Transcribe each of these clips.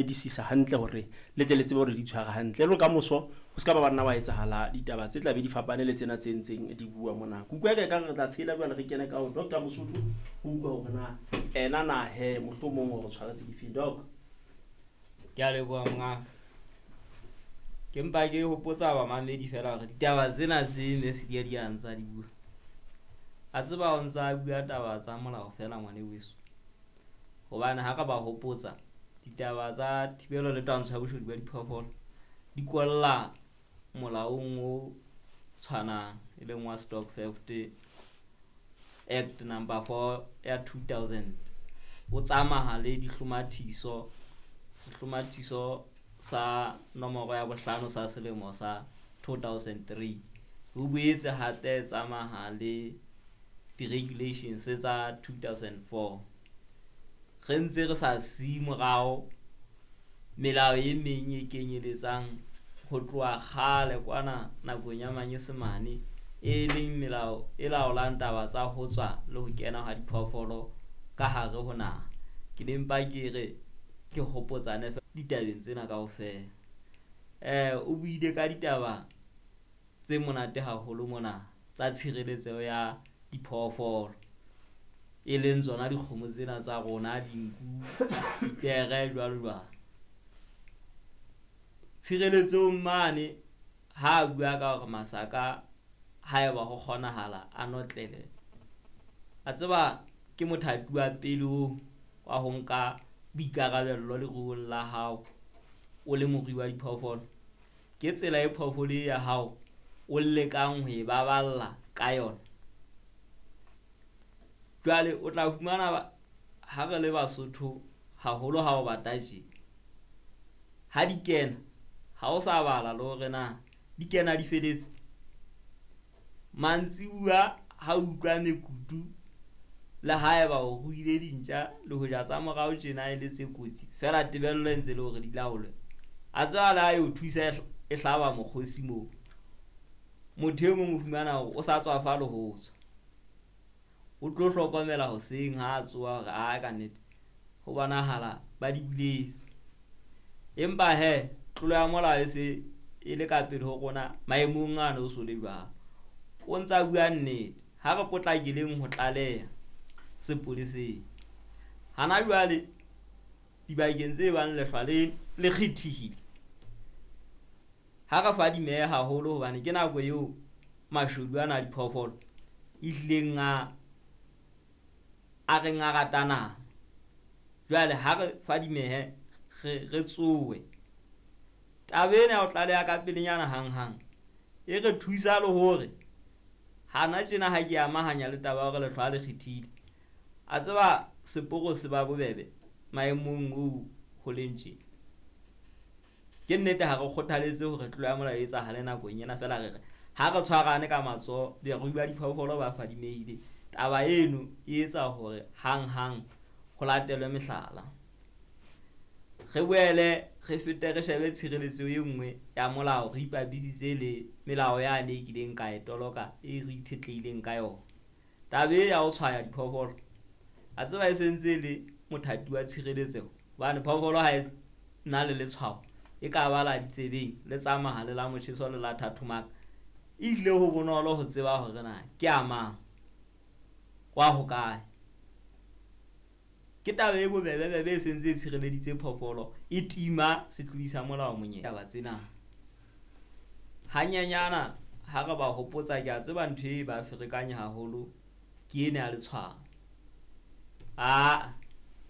Disisa hantle hore le tle le tsebe hore di tshware hantle. Le ka moso ho ska ba banna wa etsahala ditaba tse tla be di fapane le tsena tse ntseng di bua mona. Ke utlwa eka re tla tshela jwale re kene ka ho Dr. Mosotho ho utlwa hore na ena na he mohlomong hore tshwaretse difeng doc. Ke a leboha mongaka. Ke mpa ke hopotsa bamamedi fela hore ditaba tsena tse Messi di a di ntsa di bua. A tseba o ntsa bua taba tsa molao fela ngwane weso. Hobane ha re ba hopotsa ditaba tsa thibelo le twantsho ya boshodu ba diphoofolo di kwalla molaong o tshwanang e leng wa Stock Theft Act number 4 ya 2000 o tsamaha le dihlomathiso sehlomathiso sa nomoro ya bohlano sa selemo sa 2003 ho boetse hape tsamaha le di-regulations tsa 2004 re ntse re sa siye morao melao e meng e kenyeletsang ho tloha kgale kwana nakong ya manyesemane e leng melao e laolang taba tsa ho tswa le ho kena ha diphoofolo ka hare ho naha. Ke ne mpa ke re ke hopotsane ditabeng tsena kaofela. O buile ka ditaba tse monate haholo mona tsa tshireletseho ya diphoofolo e leng tsona dikgomo tsena tsa rona, dinku, dipere jwalo jwalo. Tshireletsong mane ha bua ka hore masaka haeba ho kgonahala a notlele a tseba ke mothati wa pele oo wa ho nka boikarabello leruong la hao o le morui wa diphoofolo. Ke tsela e phoofolo e ya hao o lekang ho e baballa ka yona. Jwale o tla fumana ha re le Basotho haholo ha o bata tje ha di kena ha o sa bala le hore na di kena di feletse. Mantsibuya ha utlwa mekutu le haeba o ruile dintja le hoja tsa morao tjena e le tse kotsi fela tebello e ntse le hore di laolwe. A tseba le ha e o thusa e hlaba mokgosi moo. Motho e mong o fumana hore o sa tswafa le ho tswa. O tlo hlokomela hoseng ha a tsoha hore a ka nnete ho bonahala ba di buletse. Empa he tlolo ya molao e se e le ka pele ho rona maemong ano o so le jwalo. O ntsa bua nnete ha re potlakeleng ho tlaleha sepoleseng. Hana jwale dibakeng tse bang lehlwa le le kgethehile ha re fadimehe haholo hobane ke nako eo mashodu ana a diphoofolo e hlileng a reng a rata nama. Jwale ha re fadimehe re tsowe. Taba ena ya ho tlaleha ka pelenyana hanghang e re thusa le hore hana tjena ha ke amahanya le taba ya hore lehlwa le kgethile. A tseba seporo se ba bobebe maemong oo ho leng tje. Ke nnete ha re kgothaletse hore tlolo ya molao e etsahale nakong ena fela re re ha re tshwarane ka matsoho barui ba diphoofolo ba fadimehile. Taba eno e etsa hore hanghang ho latelwe mehlala. Re boele re fete re shebe tshireletso e nngwe ya molao re ipapisitse le melao yane e kileng ka e toloka e re itshetlehileng ka yona. Taba e ya ho tshwaya diphoofolo a tseba e sentse le mothati wa tshireletseho hobane phoofolo ha e na le letshwao e ka ba la ditsebeng le tsamaha le la motjheso le la thathomaka. E hlile ho bonolo ho tseba hore na ke a mang wa hokae. Ke taba e bobebe-bebe e sentse e tshireleditse phoofolo e tima setlodi sa molao monyetla. Taba tsena hanyenyana ha re ba hopotsa ke a tseba ntho e ba ferekanya haholo ke ena ya letshwao.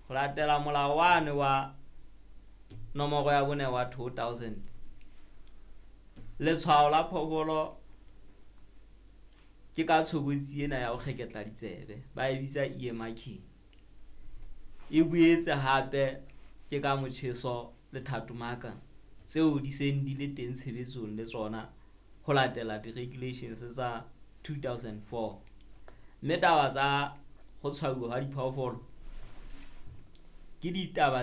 Ho latela molao wane wa nomoro ya bone wa 2000 letshwao la phoofolo ke ka tshobotsi ena ya ho kgeketla ditsebe ba e bitsa ear marking. E boetse hape ke ka motjheso le thatomaka tseo di seng di le teng tshebetsong le tsona ho latela di-regulations tsa 2004. Mme taba tsa ho tshwauwa ha diphoofolo ke ditaba